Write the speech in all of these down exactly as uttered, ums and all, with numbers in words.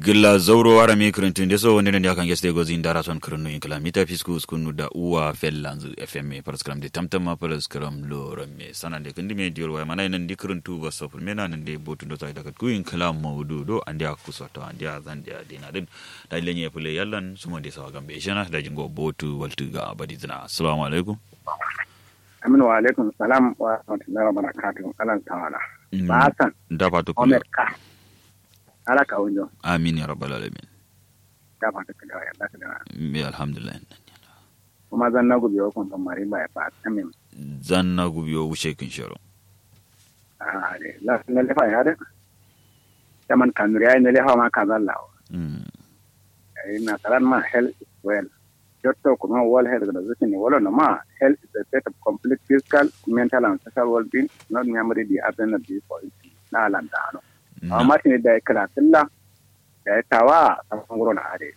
Gla zauro warame kǝrǝntǝ nde so wande nande akan geste gozi ndara son kǝrǝnnu inkǝla mita fisku uskunnu da uwa fellanzǝ. Fm faraskǝram de tamtamma faraskǝram loramme sanande kǝndime diwol waya mana nandi kǝrǝntu baso fǝlmena nande botu ndo so ayi dakatku inkǝla maudu do ande akku soto ande azande adena dǝn. Daji lenye fǝle yallan sumo nde so agambe shena daji ngo botu waltǝ ga badizǝna assalamu alaikum. Amin wa alaikum salam wa rahmatullahi wa barakatuh alan tawala. Ba san da fatu kulewa. Omer ka ala kawunjo. Amin ya rabbal alamin. Da fatu kulewa ya da kulewa. Bi alhamdulillah. Kuma zanna gubiyo kun ban mari ba ya fa tamin. Zanna gubiyo wushe kin shero. Ah de la na lefa ya de. Taman kanuri ya ne lefa ma kazalla. Mm. Ai na saran ma health is well. Jotto kuma World Health Organization ne wala no ma health is a state of complete physical, mental and social well-being, not merely the absence of disease for it. Na landa ano. Amma tini da kala kala da tawa a nguro na ade.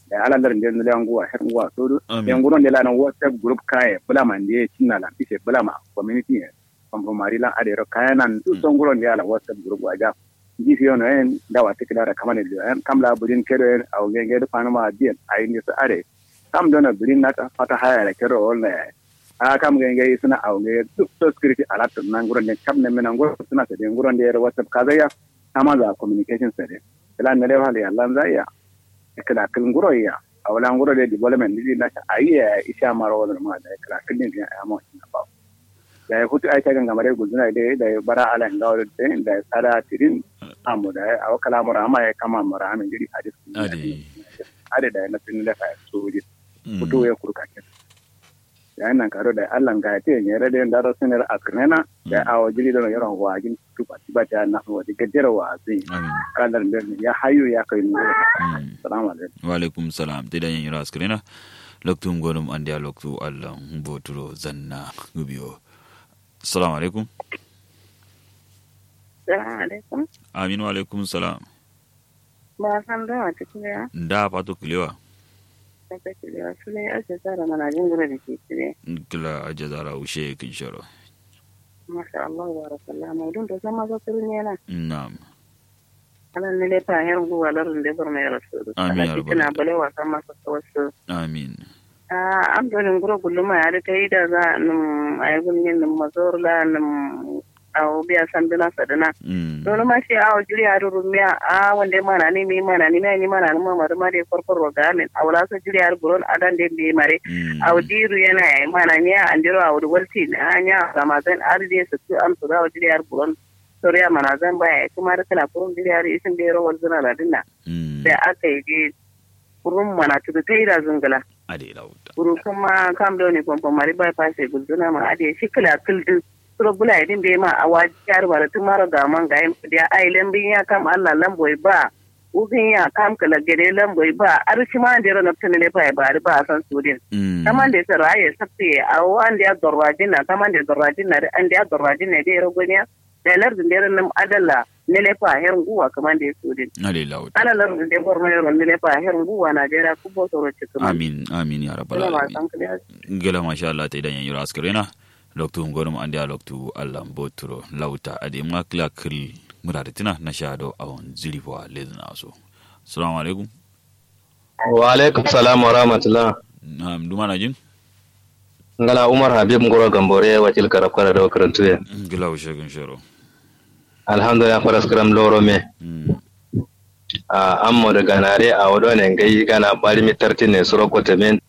Da ala lar nde nule anguwa her nguwa sodu. Amin. Nguro nde la na WhatsApp group kaye bula ma nde cinna la bise bula ma community ne. Kompromari lan ade ro kaya nan du songuro nde ala WhatsApp group waja. Nji fiyo no en da wati kila da kamane do en kam la budin kedo en awo nge nge do fanuma adien ayi nde so ade. Kam do no budin nata fata haya da kedo wol na yayi. A kam nge nge suna awo nge duk so security alert nan nguro nde kam ne mena nguro suna sade nguro nde ro WhatsApp kazaya. Kama za communication sade. Kila nde le fali allan zaya. Kila kil nguro ya. Awla nguro de development ni na ayi ya isha maro wala ma da kila kil ni ya mo. Dayi futu ai cagan gamare gulzuna dayi dayi bara ala ngawo dayi dayi sada tirin. Amu dayi awo kala mura ama ya kama mura ama jiri adis. Adi. Adi dayi na tin da fa sojin. Futu ya kurka ken. Dayi nan karo dayi allah nga te nyere dayi ndaro sinir akrinena. Dayi awo jiri dono yoro wajin tuba tiba ta na wadi gajero wazi. Amin. Kalar da ya hayu ya kai nuru. Assalamu alaikum. Wa alaikum salam te da yin yoro askrinena. Loktu ngonum andiya loktu allah. Boturo zanna gubiyo. Assalamu alaikum. Salamu alaikum. Amin wa alaikum salam. Ba san da wata kulewa. Nda fato kulewa. Fato kulewa sule aje zara mana jingura da ke kire. Kila aje zara ushe kin sharo. Masha Allah barakallah maudun da sama zo kiri ne na. Na'am. Ala nile fa her nguwa lar nde borno ya rasu. Amin ya rabbal alamin. Bale wasa masa wasu. Amin. Ah am doni nguro gulluma ya da ta yi da za num ay gulmin num mazor la num. Awo biya sanduna saduna. Doni ma shi awo jiri ya rumiya a wande mana ni mi mana ni mi mana ni mama duma de korkor ro gamin awo la so jiri ya buron adan de bi mare. Awo diru yana ya mana ni andiro awo walti na nya ramazan arde su am su awo jiri ya buron. Soriya manazan baya ya kuma da kala kurun diri har isin da ya rawar zina da dinna. Da aka yi je kurun mana tudu ta yi da zungula. Ade lauta. Kuru kuma kam da wani kwamfan mari bypass ya gulzuna ma ade shi kala kildu. Suro bula ya din bai ma a waji yar bara tun mara ga man ga yin kudiya ai lambin ya kam allah lamboi ba. Ugin ya kam kala gede lamboi ba har shi ma da ya rana tun ne fa ya bari ba a san su din. Kaman da ya sara ya sabte a wanda ya dorwajin na kaman da ya dorwajin na an da ya dorwajin na da ya ragoniya. Da lardǝ ndero nǝm adalla nǝlefa her ngǝwwa kǝmande sodin. Ala lardǝ nde borno yero nǝlefa her ngǝwwa najeriya kǝbo soro cǝkkǝma. Amin amin ya rabbal alamin. Ngla masha allah taidan yanyiro askǝrena. Loktu ngonum andeya loktu allah mboturo lauta adai mǝma kǝla kǝl mǝradǝ tǝna nasha do awon zǝri fowa lezǝna so. Salamu alaikum. Wa alaikum salam wa rahmatullah. Na'am duma najin. Ngala umar habib nguro gambore wakil karab kara do kǝrǝntuye. Ngla wushe gǝnshero. Alhamdulillah faraskǝram loro me. Ammo dǝ ganare awo done ngai gana barimi tartine suro kotemen.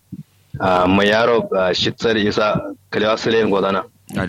Mai yaro shitsar isa kǝlewa sǝle ngozana.